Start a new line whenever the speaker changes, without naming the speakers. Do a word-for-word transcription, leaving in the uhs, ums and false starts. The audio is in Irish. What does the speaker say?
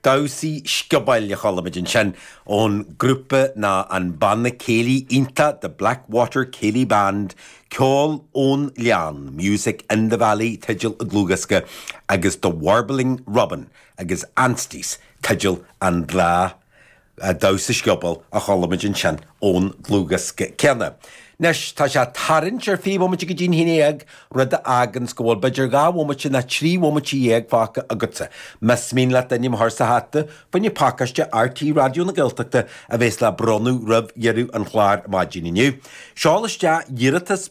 Damhsaí sciobóil a chuala muid ansin ón grúpa ná an banna céilí iontach The Blackwater Céilí Band, ceol ón Ghleann, Music in the Valley teideal an dlúthdhiosca agus The Warbling Robin agus Ansties teideal an dá damhsa sciobóil a chuala muid ansin ón dlúthdhiosca céanna. Anois tá sé tarraingt ar fiche bomaite go dtí an haon déag rud a fháganns go bhfuil b'fhéidir dhá bhomaite ná trí bhomaite dhéag fágtha agatsa. Más mian leat d'ainm a chur sa hata, fá choinne pacáiste RTÉ Raidió na Gaeltachta a bheas le bronnadh roimh dheireadh an chláir maidin inniu. Seol isteach iarratas